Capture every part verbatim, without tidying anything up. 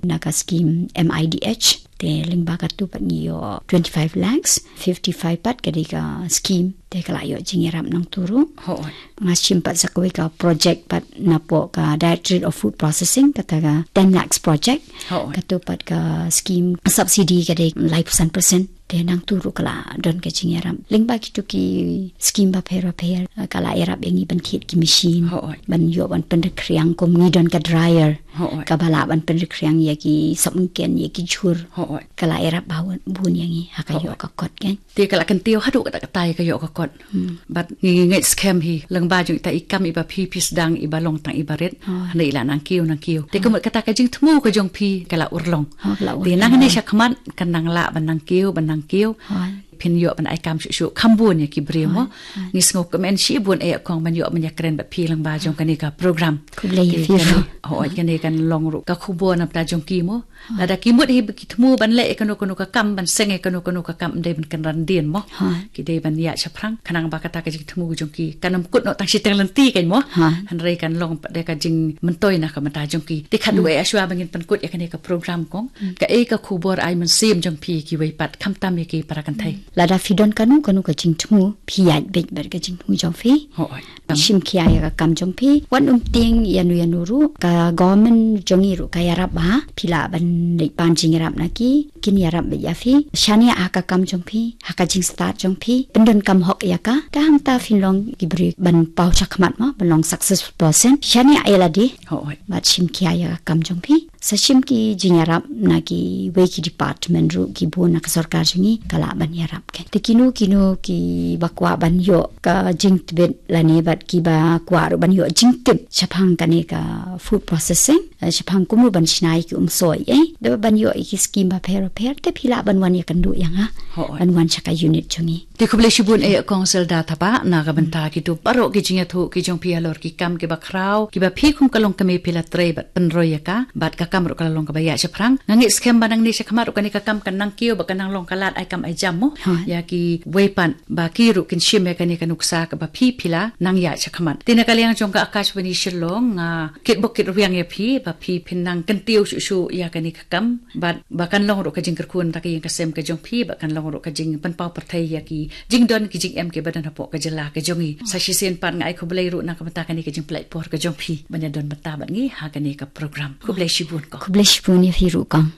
na ka scheme M I D H. Te lyngba katu pat ngi ïoh twenty-five lakhs, fifty-five pat ka dei ka scheme. Te ka la ïoh jingïarap nangtu ruh. Hooid. Nga shim pat sa kawei ka project pat napoh ka Directorate of Food Processing, kata ka ten lakhs project. Hooid. Katu pat ka scheme subsidy ka dei laiphew san percent. Te nangtu ruh ka la don ka jingïarap. Lyngba kitu ki scheme bapher bapher, eh, ka la ïarap ïa ngi ban thied ki machine. Hooid. Ban ïoh ban pynrkhriang kum ngi don ka dryer. Hooid. Kaba lah ban pynrkhriang ïa ki sopmynken, ïa ki jhur. Hooid. Ka la ïarap bun, bun ïa ngi ha ka ïoh ka kot kan. Te ka la kyntiew haduh katta katta ïa ka ïoh ka kot. Hmm. Bad ngi ngeit skhem hi lyngba jong ita i kam iba phi phi sdang iba long tang iba rit. Hooid. Hynrei i la nang kiew nang kiew. Te ka mut kata ka jingthmu ka jong phi ka la urlong. Hooid, ka la urlong. Te nang ne shakhmat kan nang lah ban nang kiew ban nang kiew. Hooid. Phin ïoh ban ai kam shuh shuh kham bun ïa ki briew mo. Hooid. Ngi sngew kmen shibun eh kong ban ïoh ban ïakren bad phi lyngba jong kane ka program. Khublei ïa phi ruh. Hooid, kane kan long ruh ka khubor na bynta jong ki mo. Lada ki mut hi ba ki thmu ban leh ïa kano kano ka kam, ban seng ïa kano kano ka kam, ym dei ban kynran dien mo. Hooid. Ki dei ban ïaid shaphrang, khnang ba kata ka jingthmu jong ki kan ym kut noh tang shiteng lynti kan mo. Hooid. Hynrei kan long pat da ka jingmyntoi na ka bynta jong ki. Te khatduh eh shuwa ba ngin pynkut ïa kane ka program kong, kaei ka khubor ai mynsiem jong phi kiwei pat, khamtam ïa ki para kynthei? Lada phi don kano kano ka jingthmu, phi ïaid beit bad ka jingthmu jong phi. Hooid. Shim khia ïa ka kam jong phi. Wat ym tieng ïano ïano ruh, ka government jong ngi ruh ka ïarap bha. Phi lah ban leit pan jingïarap na ki, kin ïarap beit ïa phi. Shaniah ha ka kam jong phi, ha ka jingstad jong phi. Pyndonkam hok ïa ka. Te hangta phin long ki briew ban paw shakhmat mo, ban long successful person. Shaniah ïa lade. Hooid. Bad shim khia ïa ka kam jong phi. Sa shim ki jingïarap na kiwei ki department ruh, ki bun na ka sorkar jong ngi ka lah ban ïarap kan. Te kino kino kiba kwah ban ïoh ka jingtbit lane bad kiba kwah ruh ban ïoh jingtip shaphang kane ka food processing, eh, shaphang kumno ban shna ïa ki umsoh, eh, da ban ïoh ïa ki scheme bapher bapher, te phi lah ban wan ïakynduh ïa nga. Hooid. Ban wan sha ka unit jong ngi. Te khublei shibun eh kong Zelda Thabah na ka bynta kitu baroh ki jingïathuh ki jong phi halor ki kam kiba khraw, kiba phi kum ka longkmie phi la trei bad pynroi ïa ka, bad ka kam ruh ka la long kaba ïaid shaphrang. Nga ngeit skhem ba nangne shakhmat ruh kane ka kam kan nang kiew bad kan nang long ka lad ai kam ai jam mo. Hooid. Ïa kiwei pat ba ki ruh kin shim ïa kane ka nuksa kaba phi phi la nang ïaid shakhmat. Te na ka liang jong ka Akashvani Shillong, nga kitbok kitrwiang ïa phi ba phi phin nang kyntiew shuh shuh ïa kane ka kam. Bad ba kan long ruh ka jingkyrkhu na ka ïing ka sem ka jong phi, ba kan long ruh ka jingpynpaw pyrthei ïa ki jingdon ki jingem kiba don hapoh ka jylla ka jong ngi. Sa shisien pat nga ai khublei ruh na ka bynta kane ka jingpynlait por ka jong phi ban ïadon bynta bad ngi ha kane ka program. Khublei shibun kong. Khublei shibun ïa phi ruh kong.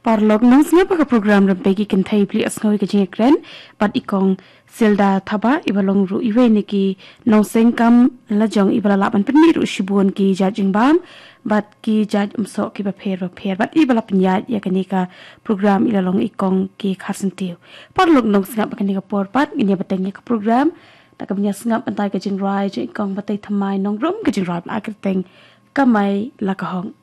Paralok nongsngap, ka program Rympei ki Kynthei phi la ïohsngew ïa ka jingïakren bad i kong Zelda Thabah, iba long ruh iwei na ki nongseng kam lajong iba la lah ban pynmih ruh shibun ki jait jingbam bad ki jait umsoh kiba pher bapher, bad iba la pynïaid ïa kane ka program i la long i kong K. Kharsyntiew. Paralok nongsngap, ha kane ka por pat ngin ïa bteng ïa ka program da kaba ngin ïa sngap bynta ïa ka jingrwai jong i kong Batai Thymmai Nongrum, ka jingrwai ba la kyrteng Kamai La Ka Hok.